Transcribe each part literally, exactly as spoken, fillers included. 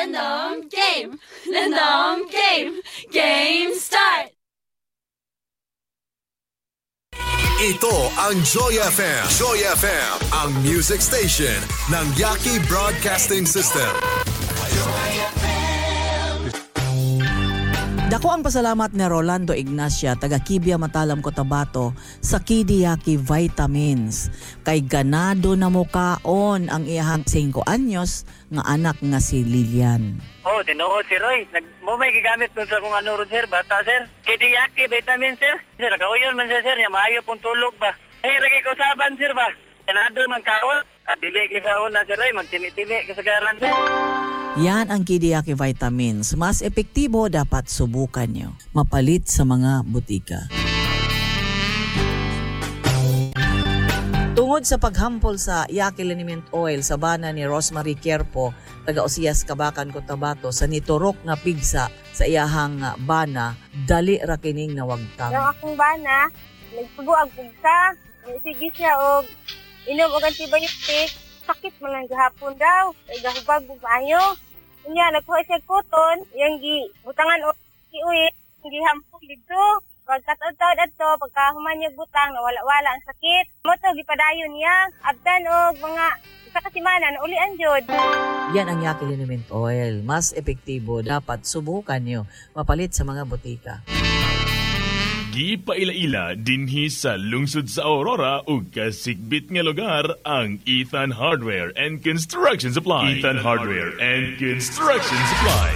Random game! Random game! Game start! Ito ang Joy F M. Joy F M, ang music station ng Yaki Broadcasting System. Dako ang pasalamat ni Rolando Ignacia, taga Kibia Matalam, Cotabato, sa Kidiyaki Vitamins. Kay ganado na mukaon ang iyahang singko anyos nga anak nga si Lilian. Oh, tinuod si Roy. Nag mo may gigamit dun sa kung ano ron, sir. Bata, sir. Kidiyaki Vitamins, sir. Sir, nakauyon man siya, sir. Ya, maayo pong tulog ba. Eh, lagi ko saban, sir ba. Ganado man kaon. At dili kaon na, sir Roy. Magtimi-timi kasagaran, sir. Yan ang Kidiyaki Vitamins. Mas epektibo, dapat subukan nyo. Mapalit sa mga butika. Tungod sa paghampol sa Yaki Liniment Oil sa bana ni Rosemary Kierpo, taga Osias, Kabakan, Cotabato, sa niturok nga pigsa sa iyahang bana, dali ra kining nawagtang. Yung akong bana, nagsugo ang pigsa, sige siya og inom og antibiotic, sakit man lang gahapon daw, ay gahubag ug maayo. Unya nagkuha siya cotton, iyang gi butangan og giuwi, gihampol didto. Pagkataod-taod adto, pagka human niya butang, nawala-wala ang sakit. Mo to gipadayon niya, abtan og mga isa ka semana naulian jud. Yan ang Yaki Liniment Oil. Mas epektibo, dapat subukan niyo. Mapalit sa mga butika. Gipaila-ila dinhi sa lungsod sa Aurora ug kasikbit nga lugar ang Ethan Hardware and Construction Supply. Ethan Hardware and Construction Supply.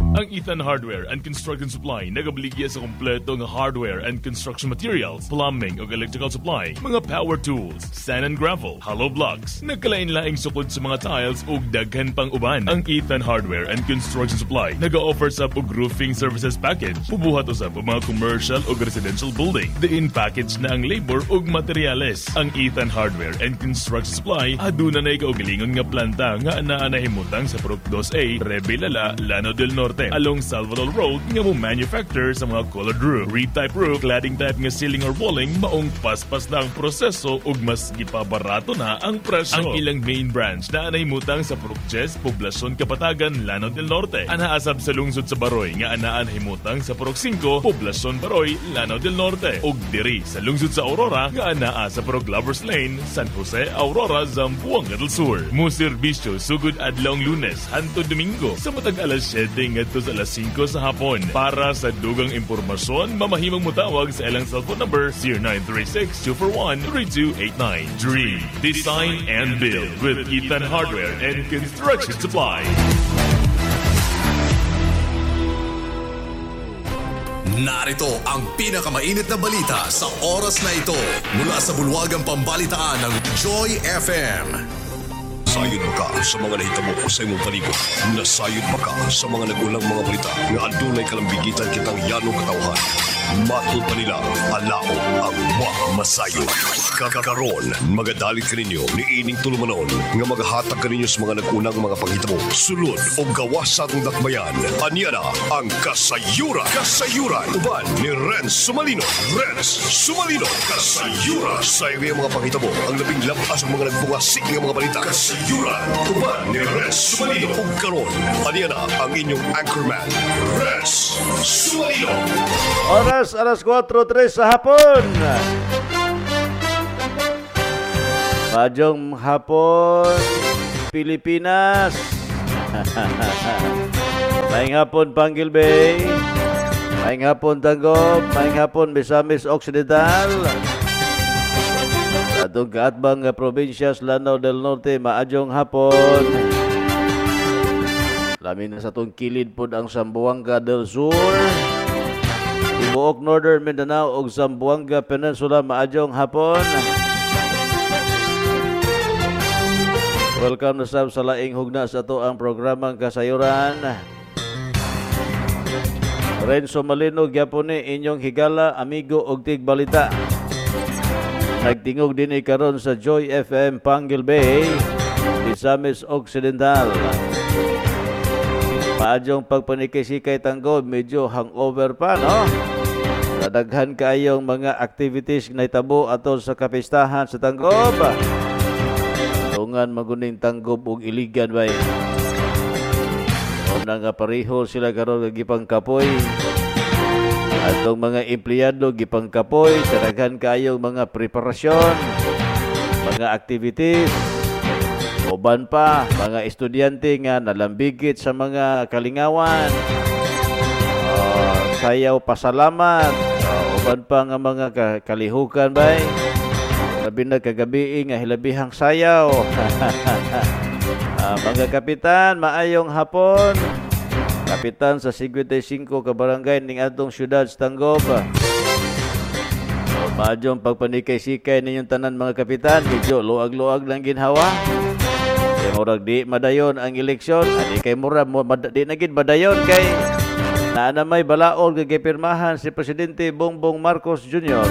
Ang Ethan Hardware and Construction Supply nagabaligya sa kompleto nga hardware and construction materials, plumbing ug electrical supply, mga power tools, sand and gravel, hollow blocks, nagkalain-laing sukod sa mga tiles ug daghan pang uban. Ang Ethan Hardware and Construction Supply naga-offer sab og roofing services package, bubuhat usab og mga commercial ug residential building. Diin package na ang labor ug materyales. Ang Ethan Hardware and Construction Supply aduna nay kaugalingon nga planta nga anaa nahimutang sa Purok two A, Rebilala, Lanao del Norte, along Salvador Road nga mo manufacturer sa mga colored roof, reed type roof, cladding type nga ceiling or walling, maong paspas na ang proseso ug mas gipabarato na ang presyo. Ang ilang main branch na anay mutang sa Purok Jes, Poblasyon Kapatagan, Lanao del Norte. Anaasab sa lungsod sa Baroy nga anaan himutang sa Purok five, Poblasyon Baroy, Lanao del Norte. Ug diri sa lungsod sa Aurora nga anaa sa Purok Lovers Lane, San Jose, Aurora, Zamboanga del Sur. Muserbisyo sugod adlawng Lunes hantod Domingo sa matag alas siyete ngadto sa alas singko sa hapon. Para sa dugang impormasyon, mamahimong motawag sa ilang cellphone number zero nine three six, two four one, three two eight nine. Dream, design, and build with Ethan Hardware and Construction Supply. Narito ang pinakamainit na balita sa oras na ito mula sa bulwagang pambalitaan ng Joy F M. Nasayod ba ka sa mga nahitabo sa imong palibot? Nasayod ba ka sa mga nagulang mga balita nga adunay kalambigitan kitang yanong katawhan? Matod pa nila, alao ang wa masayod. Kakaron, magadalit kaninyo ni ining tulumanon nga magahatag kaninyo sa mga nagunang mga panghitabo, sulod o gawas sa atong dakbayan. Anya na ang Kasayuran. Kasayuran. Uban ni Renz Sumalino. Renz Sumalino. Kasayuran. Sa iyo mga panghitabo, ang labing lapas ang mga nagbungasik nga mga balita. Kasayuran. Uban ni Renz Sumalino. Ug karon, anya na ang inyong anchorman, Renz Sumalino. Oras, alas kwatro tres sa hapon. Maayong hapon, Pilipinas. Maayong hapon, Panguil Bay. Maayong hapon, Tanggob. Maayong hapon, Misamis Occidental. Atong kaatbang nga probinsya sa Lanao del Norte, maayong hapon. Lamin na sa atong kilid pod ang Zamboanga del Sur. Tibuok Northern Mindanao ug Zamboanga Peninsula, maayong hapon. Welcome na sab sa laing hugna sa ato ang programang Kasayuran. Renzo Malino gyapon ni inyong higala, amigo ug tigbalita. Nagtingog dinhi karon sa Joy F M Panguil Bay, Misamis Occidental. Maadyong pagpanikay-sikay Tanggob, medyo hangover pa, no? Nadaghan kaayong mga activities na itabo ato sa kapistahan sa Tanggob. Tungan maguning Tanggob ug Iligan bay. Mao nga pareho sila karon nga gipangkapoy. Atong mga empleyado gipangkapoy sa daghan kaayong mga preparasyon, mga activities. Uban pa mga estudyante nga nalambigit sa mga kalingawan. Uh, sayaw pasalamat. Uh, uban pa nga mga kalihukan bay. Labi na kagabi nga hilabihang sayaw. Uh, mga kapitan, maayong hapon. Kapitan sa fifty-five ka barangay ning atong syudad sa Tanggob. So, maadyong pagpanikay-sikay ninyong tanan mga kapitan, medyo luag-luag lang ginhawa. Kay murag di madayon ang eleksyon, ani kay mura mad, di na gid madayon kay naa na may balaod nga gipirmahan si Presidente Bongbong Marcos Junior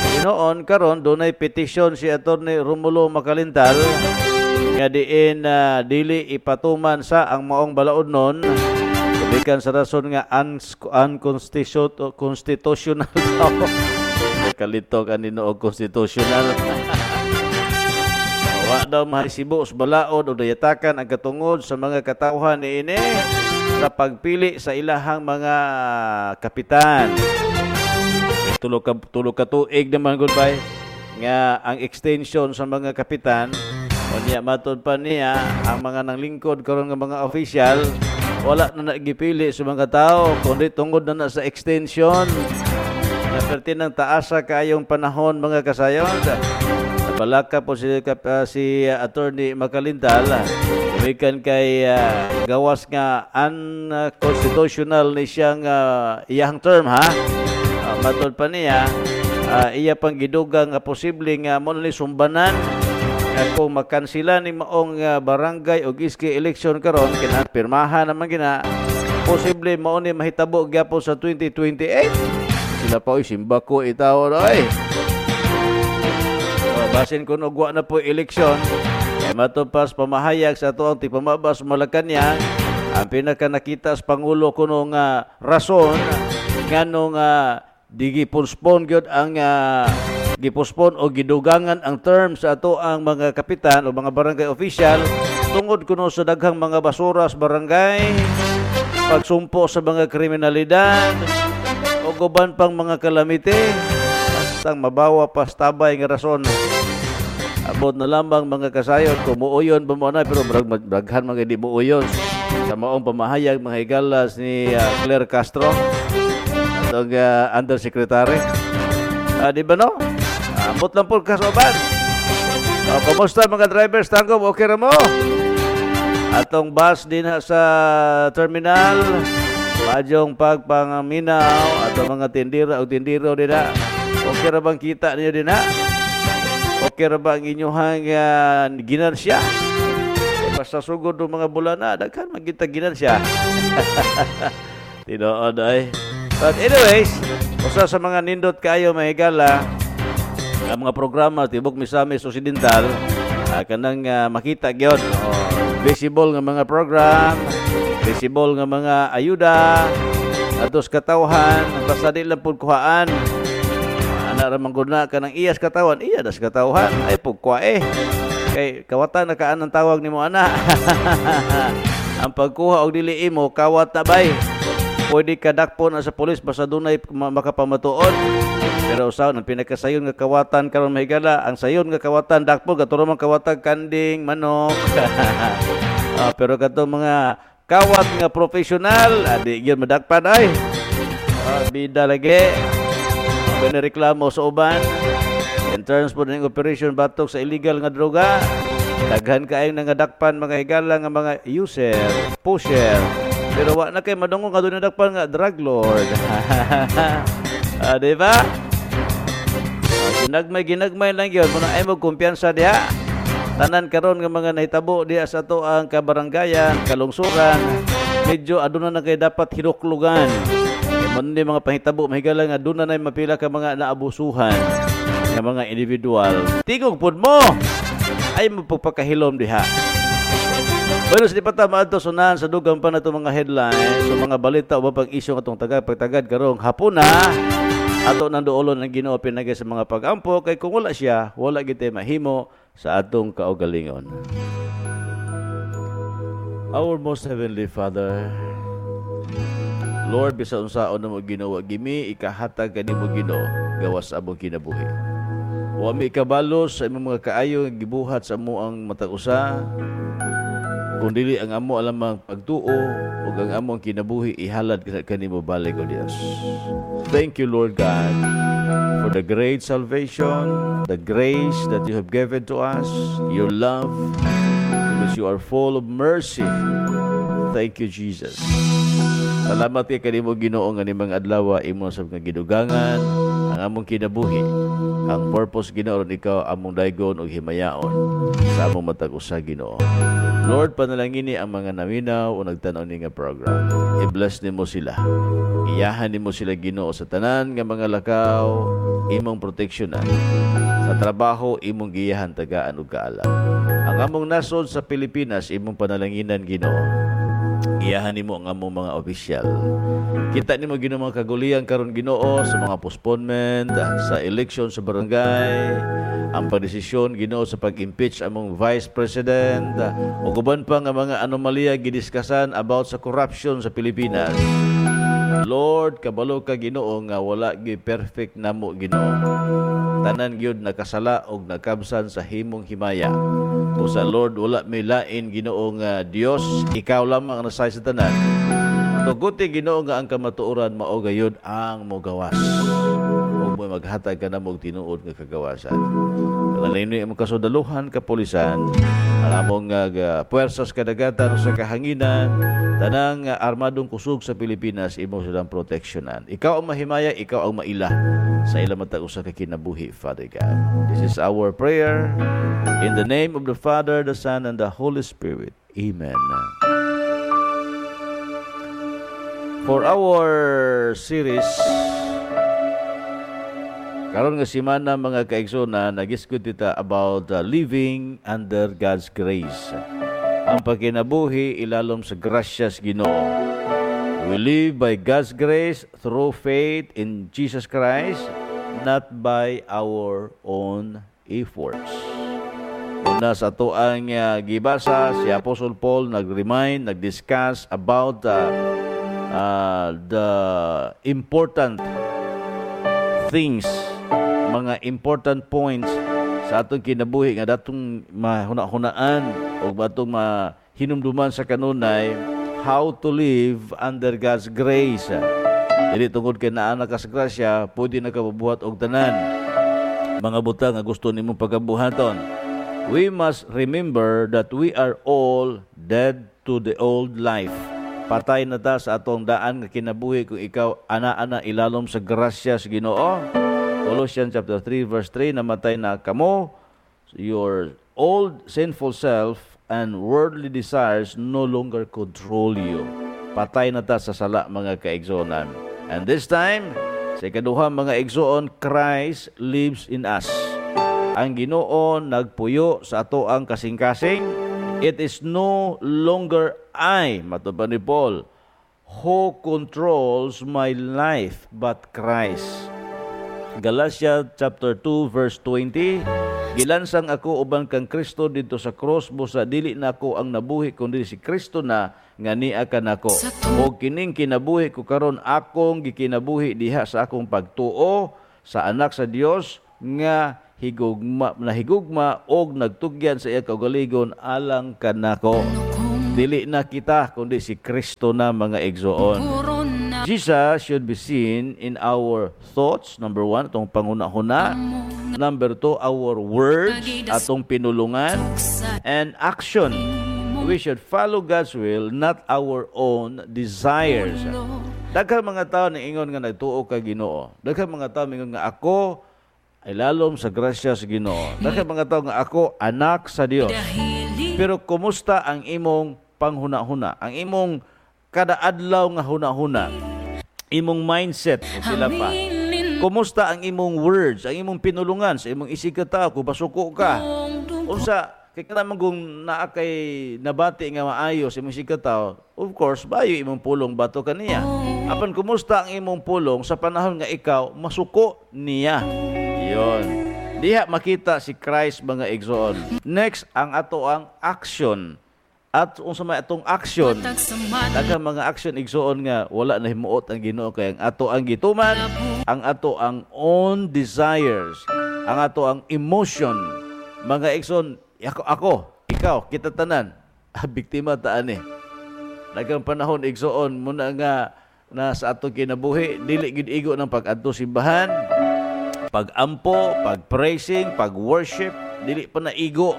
Uh, noon karon dunay petisyon si Attorney Romulo Macalintal nga diin uh, dili ipatuman sa ang maong balaod nun gikan sa rason nga unconstitutional daw. Kalito kanino og constitutional. Wa daw mahisibo sa balaod o dayatakan ang katungod sa mga katawhan niini sa pagpili sa ilahang mga kapitan. Tulo ka tulo ka tuig naman goodbye nga ang extension sa mga kapitan. Unya matud pa niya ang mga nanglingkod karon nga mga official wala na nagipili sa mga tao kundi tungod na na sa extension. Naperti ng taasa kaayong panahon mga kasayon. Nabalaka po si, uh, si uh, Attorney Macalintal gikan kay uh, gawas nga unconstitutional ni siyang uh, iyang term ha. Uh, matud pa niya uh, iya pang gidugang nga posible nga mo ni sumbanan kung makansila ni maong uh, barangay o iski election karon kina pirmahan naman gina posible mao ni mahitabo gyapon sa twenty twenty-eight. Sila pa oy simba ko itaw oy. So, basin kun og wa na po eleksyon kay matupas pamahayag sa atoang tigpamabas Malacañang ang pinaka nakita sa pangulo kuno nga rason nganong uh, digi postpone gyud ang uh, gipospon o gidugangan ang term sa ato ang mga kapitan o mga barangay official tungod kuno sa daghang mga basura sa barangay, pagsumpo sa mga kriminalidad o uban pang mga kalamite. Bastang mabawa pa sa tabay nga rason. Abot na lamang mga kasayon kung muuyon ba mo na, pero braghan mga di muuyon sa maong pamahayag mga higalas ni uh, Claire Castro atong uh, undersecretary. Uh, di ba no? Ambot lang po kasoban. O, kumusta mga drivers? Tanggob, okay ra mo? Atong bus din sa terminal. Padyong pagpangaminaw. Atong mga tindira o tindiro din na. Okay ra bang kita niyo din na? Okay ra ba ang inyong uh, ginansya? E, basta sugod ng mga bulan na, daghan magita ginansya. Tinood ay. But anyways, usa sa mga nindot kayo mahigala ang mga programa tibok Misamis Occidental uh, kanang uh, makita gyud oh, visible nga mga program, visible nga mga ayuda atos katawhan basta di lang pud kuhaan ana ra man gud na kanang iyas katawan iya das katawhan ay pud kuha eh kay kawatan na kaan ang tawag nimo ana. Ang pagkuha og dili imo kawat na bay. Pwede ka dakpon na sa pulis basta dunay makapamatuod. Pero usaw ang pinakasayon nga kawatan karon mahigala, ang sayon nga kawatan dakpon katuro man kawatan kanding, manok. uh, pero kadtong mga kawat nga professional, adi gyud madakpan ay. Uh, bida lagi. Pinareklamo sa uban. In terms po ng operation batok sa illegal nga droga, daghan kaayong nangadakpan mga higala nga mga user, pusher. Pero wa na kay madungog nga doon nadakpan nga drug lord. uh, di ba? Uh, ginagmay ginagmay lang gyud muna ay mo kumpiyansa diha. Tanan karon nga mga nahitabo diha sa ato ang kabaranggayan, kalungsuran, medyo aduna na kay dapat hinuklugan. Kay man ni mga pahitabo mahigala nga aduna nay mapila ka mga naabusuhan nga mga individual. Tigog pud mo ay mapagpakahilom diha. Bueno, sa di pa ta maadto sunahan sa dugang pa na itong mga headlines, so mga balita o pag isyu atong tagad pagtagad karong hapuna ato nang duolon ang Ginoo pinagay sa mga pag-ampo kay kung wala siya, wala gid mahimo sa atong kaugalingon. Our most heavenly Father, Lord, bisan unsaon namo Ginoo, gimi ikahatag kanimo Ginoo gawas sa among kinabuhi. Wa mi kabalo sa imong mga kaayo nga gibuhat sa amo ang matag usa, kung dili ang amo lamang pagtuo ug ang among kinabuhi ihalad kanimo balik, O Dios. Thank you, Lord God, for the great salvation, the grace that you have given to us, your love, because you are full of mercy. Thank you, Jesus. Salamat kay kanimo Ginoo nga nimang adlaw imo sa mga gidugangan ang among kinabuhi. Ang purpose Ginoo ron ikaw among daygon ug himayaon sa among matag usa Ginoo. Lord, panalangini ang mga naminaw o nagtan-aw ni nga program. I-bless nimo sila. Iyahan nimo sila Ginoo sa tanan nga mga lakaw, imong proteksyonan. Sa trabaho imong giyahan tagaan og kaalam. Ang among nasod sa Pilipinas imong panalanginan Ginoo. Iyahan nimo ang among mga opisyal. Kita nimo Ginoo mga kagulian karon Ginoo sa mga postponement, sa election sa barangay, ang pagdesisyon Ginoo sa pag-impeach among vice president, ug uban pa nga mga anomalya gidiskasan about sa corruption sa Pilipinas. Lord, kabalo ka Ginoo nga wala gyud perfect namo Ginoo. Tanan gyud nakasala og nakabsan sa himong himaya. Busa Lord, wala may lain Ginoo nga Dios, ikaw lamang ang nasay sa tanan. Tuguti Ginoo nga ang kamatuoran mao gayud ang mogawas. Ug mo maghatag ka namo og tinuod nga kagawasan. Panalangin imong kasundaluhan, kapulisan, ang among uh, puwersas kadagatan sa kahanginan, tanang uh, armadong kusog sa Pilipinas, imo silang proteksyonan. Ikaw ang mahimaya, ikaw ang maila sa ilang matag usa ka kinabuhi, Father God. This is our prayer. In the name of the Father, the Son, and the Holy Spirit. Amen. For our series, karon nga semana mga kaigsoona, nagiskud kita about uh, living under God's grace. Ang pagkinabuhi ilalom sa grasyas Ginoo. We live by God's grace through faith in Jesus Christ, not by our own efforts. Una sa ato ang uh, gibasa, si Apostle Paul nag-remind, nag-discuss about uh, uh, the important things, mga important points sa atong kinabuhi nga datong mahuna-hunaan o atong mahinumduman sa kanunay, how to live under God's grace. Dili tungod kay naa na ka sa grasya, pwede na ka mabuhat og tanan mga butang nga gusto nimong pagabuhaton. We must remember that we are all dead to the old life. Patay na ta sa atong daan nga kinabuhi kung ikaw ana-ana ilalom sa grasya sa Ginoo. Colossians chapter three verse three, namatay na kamo, your old sinful self and worldly desires no longer control you. Patay na ta sa sala mga kaigsuonan. And this time, sa ikaduha mga igsoon, Christ lives in us. Ang Ginoo nagpuyo sa ato ang kasing-kasing. It is no longer I, matod pa ni Paul, who controls my life, but Christ. Galatia chapter two verse twenty, gilansang ako uban kang Kristo didto sa cross, busa dili na ako ang nabuhi kundi si Kristo na nga niya kanako. Og kining kinabuhi ko karon akong gikinabuhi diha sa akong pagtuo sa anak sa Dios nga higugma nahigugma og nagtugyan sa iya kaugalingon alang kanako. Dili na kita kundi si Kristo na mga igsoon. Jesus should be seen in our thoughts, number one, atong panghuna-huna. Number two, our words, atong pinulungan, and action. We should follow God's will, not our own desires. Daghang mga tao niingon nga nagtuo ka Ginoo. Daghang mga tao niingon nga ako ay lalom sa grasya sa Ginoo. Daghang mga tao nga ako anak sa Dios. Pero kumusta ang imong panghuna-huna? Ang imong kada adlaw nga huna-huna, imong mindset, o sila pa. Kumusta ang imong words, ang imong pinulungan sa imong isig ka tao, kung basuko ka. Unsa, kay kanang kung naa kay nabati nga maayo sa imong isig ka tao, of course, bayo imong pulong bato kaniya. Apan kumusta ang imong pulong sa panahon nga ikaw masuko niya. Yon. Diha makita si Christ mga igsoon. Next, ang ato ang action. At unsa may atong action, daghang mga action igsuon nga wala na himuot ang Ginoo kay ang ato ang gituman, ang ato ang own desires, ang ato ang emotion. Mga igsoon, ako, ako, ikaw, kita tanan, biktima ta ani. Daghang panahon igsuon muna nga na sa atong kinabuhi dili gid igo ng pag-adto simbahan, pag-ampo, pag-praising, pag-worship, dili pa na igo.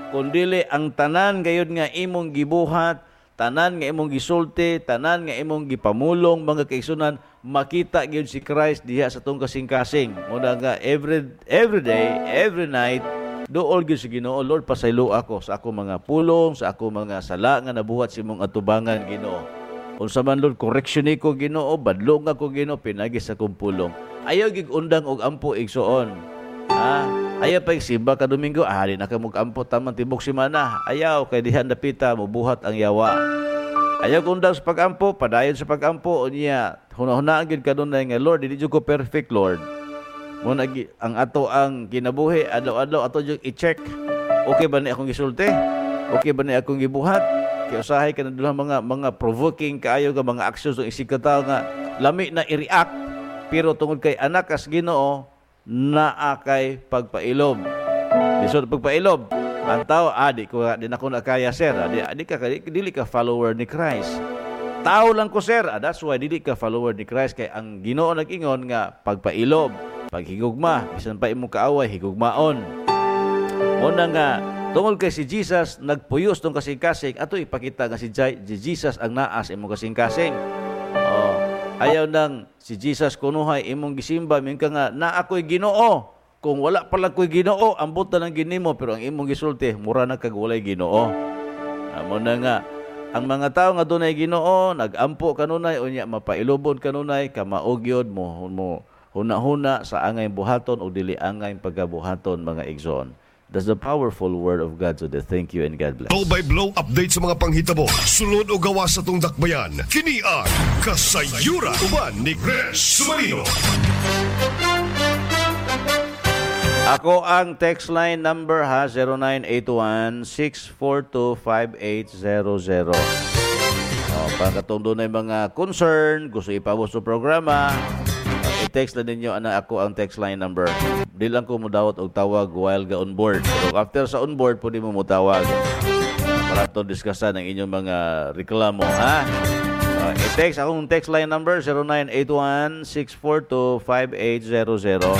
Kun dili ang tanan gayud nga imong gibuhat, tanan nga imong gisulti, tanan nga imong gipamulong mga kaigsunan, makita gyud si Christ diha sa atong kasing-kasing. Muna nga every every day, every night, duol gyud si Ginoo, Lord pasaylo ako sa ako mga pulong, sa ako mga sala nga nabuhat sa imong atubangan Ginoo. Unsa man Lord, correction niko Ginoo, badlong ako Ginoo pinagi sa akong pulong. Ayaw gig undang og ampo igsuon. Ha? Ayaw pa simba ka Domingo, ah, di na ka mag-ampo tamang tibok simana. Ayaw, kay dihan dapita, mubuhat ang yawa. Ayaw kundang sa pag-ampo, padayon sa pag-ampo, unya, hunahunaan gid kanunay nga, Lord, dili jud ko perfect, Lord. Muna, ang ato ang kinabuhi, adlaw-adlaw, ato jud i-check. Okay ba ni akong gisulti? Okay ba ni akong gibuhat? Kaya usahay ka na doon mga, mga provoking kaayo nga mga actions ng isig ka tao nga, lami na i-react, pero tungod kay anak as Ginoo, naa kay pagpailob. Lisod pagpailob. Ang tao, ah, di ko, di na ko nakaya, sir. Ah, di, di ka, di, dili ka follower ni Christ. Tao lang ko, sir. Ah, that's why dili ka follower ni Christ. Kay ang Ginoo nag-ingon nga pagpailob, paghigugma, bisan pa imong kaaway, higugmaon. Muna nga, tungod kay si Jesus, nagpuyos tong kasing-kasing, ato ipakita nga si Jesus ang naas imong kasing-kasing. Oh. Ayaw nang si Jesus kunuhay imong gisimba, mingon ka nga na ako'y Ginoo. Kung wala pala ko'y Ginoo, ambot na ng ginimo, pero ang imong gisulti, mura na kag walay Ginoo. Amo na nga ang mga tao nga dunay Ginoo, nagampo kanunay unya mapailubon kanunay, kamao gyud mo mo huna-huna sa angay buhaton o dili angay pagabuhaton mga igsoon. That's the powerful word of God today. Thank you and God bless. Blow by blow update sa mga panghitabo. Sulod o gawa sa tong dakbayan. Kini ang Kasayuran uban ni Chris Sumarino. Ako ang text line number ha, zero nine eight one, six four two, five eight zero zero. Oh, para katong dunay mga concern, gusto ipabot sa programa, i-text na ninyo ana ako ang text line number. Di lang ko mudawat og tawag while ga on board. Pero after sa on board, pwede mo mutawag para to diskusan ang inyong mga reklamo, ha? Uh, i-text akong text line number zero nine eight one, six four two, five eight zero zero.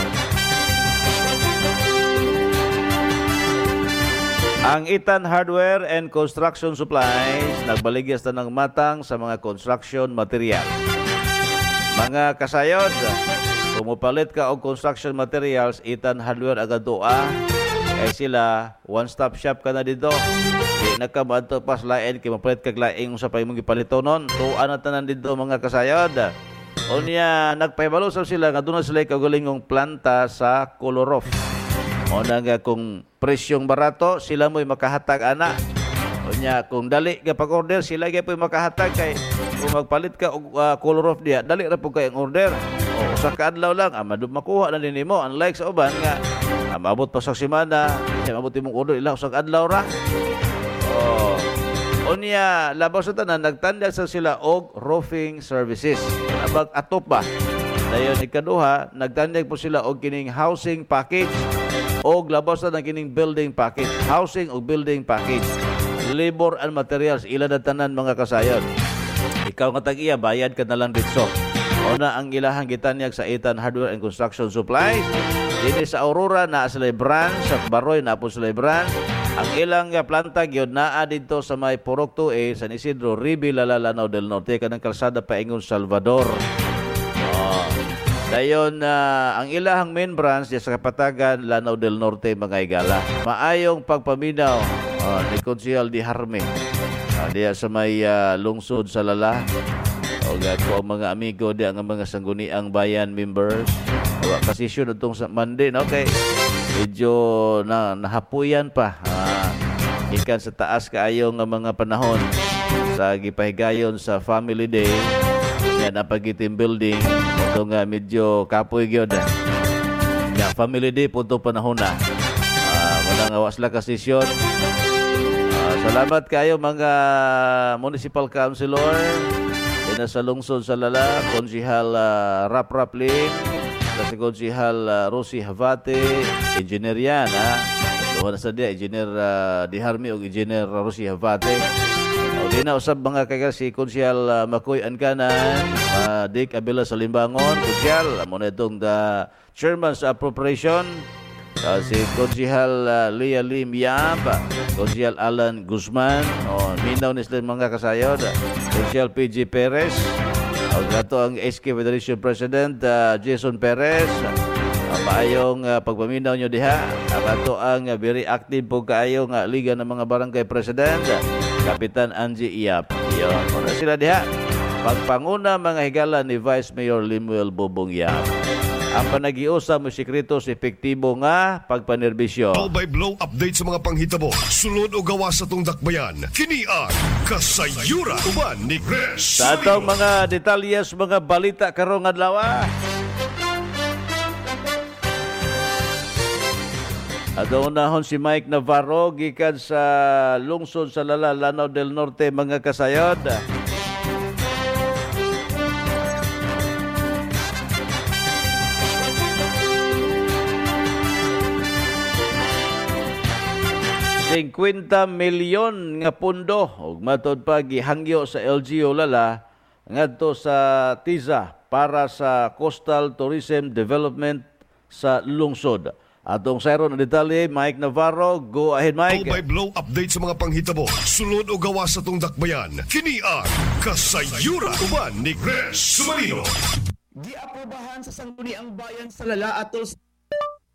Ang Itan Hardware and Construction Supplies nagbaligyas na ng matang sa mga construction material. Mga kasayod, kung mupalit ka og construction materials, Itan Hardware agad doa. Kay sila, one-stop shop ka na dito. Di na ka maadto pas lain, kay mapalit kag laing usa pa imong gipalitonon. Tuan na tanan dito mga kasayod. Unya, nagpahibalo sab sila nga doon na sila kaugalingong planta sa Kolorof. O na nga kung presyong barato, sila mo'y makahatag ana. Unya, kung dali ka pag-order, sila gyud makahatag kay kung magpalit ka og uh, color off diya, dali ra pud kay ang order. O usa ka adlaw lang, ah, makuha na din nimo. Unlike sa uban nga ah, maabot pa sa semana, maabot imong order ila usa ka adlaw ra. O unya, labaw sa tanan nagtanyag sa sila og roofing services. Abag atop ba? Dayon ikaduha, nagtanyag po sila og kining housing package og labaw sa tanan kining building package, housing og building package. Labor and materials ila na tanan mga kasayon. Ikaw nga tag-iya, bayad ka na lang dito. Una ang ilahang gitanyag sa Itan Hardware and Construction Supplies. Dini sa Aurora, naa sila branch. Sa Baroy, naa po sila branch. Ang ilang planta gyud naa dito sa may Purok two A, San Isidro, Ribi, Lala, Lanao del Norte, kanang kalsada paingon Salvador. Oh. Dayon uh, ang ilahang main branch diya sa Kapatagan, Lanao del Norte, mga igala. Maayong pagpaminaw uh, ni Konsehal di Harme. Uh, diya sa may uh, lungsod sa Lala. O ko ang mga amigo diya ang mga sangguniang bayan members. O kasisyon itong sa Monday, no? Okay. Medyo na, nahapuyan pa. Uh, ikan sa taas kaayo nga mga panahon sa gipahigayon sa Family Day. Yan ang pag-team building. Ito nga medyo kapoy gyud. Ya, Family Day po ito panahon na. Uh, wala nga wa sila kasisyon. Uh, Salamat kayo mga municipal councilor dina sa lungsod sa Lala, Konsihal uh, Rap Rap Lim, si Konsihal uh, Rosie Havate, engineer yan ha. Duha na sa diya, Engineer uh, Diharmi o Engineer Rosie Havate. O di na usab mga kaya si Konsihal uh, Makoy Ankanan, uh, Dick Abela sa Limbangon, Konsihal, amo na itong the chairman sa appropriation, uh, si Konsihal uh, Leah Lim Yap, Konsihal Alan Guzman, o minaw ni sila mga kasayod, Konsihal P G Perez, o gato ang S K Federation President uh, Jason Perez. Uh, maayong uh, pagpaminaw nyo diha. Ang ato ang uh, very active po kaayo nga Liga ng mga Barangay President, Kapitan Angie Iap. Iyon, una sila diha. Pagpanguna mga higala ni Vice Mayor Limuel Bobong Yap. Ang panagiusa mo sikreto sa epektibo nga pagpanerbisyo. Blow by blow update sa mga panghitabo. Sulod o gawa sa tong dakbayan. Kini ang Kasayuran uban ni Chris. Sa atong mga detalyes, mga balita karong adlaw. Ato unahon si Mike Navarro gikan sa lungsod sa Lala, Lanao del Norte, mga kasayod. fifty milyon nga pundo ug matod pa gihangyo sa L G U Lala ngadto sa Tiza para sa Coastal Tourism Development sa lungsod. Atong sayron ang detalye, Mike Navarro. Go ahead, Mike. Blow by blow update sa mga panghitabo. Sulod o gawa sa tong dakbayan. Kini ang Kasayuran uban ni Chris Sumarino. Giaprobahan sa Sangguniang Bayan sa Lala atol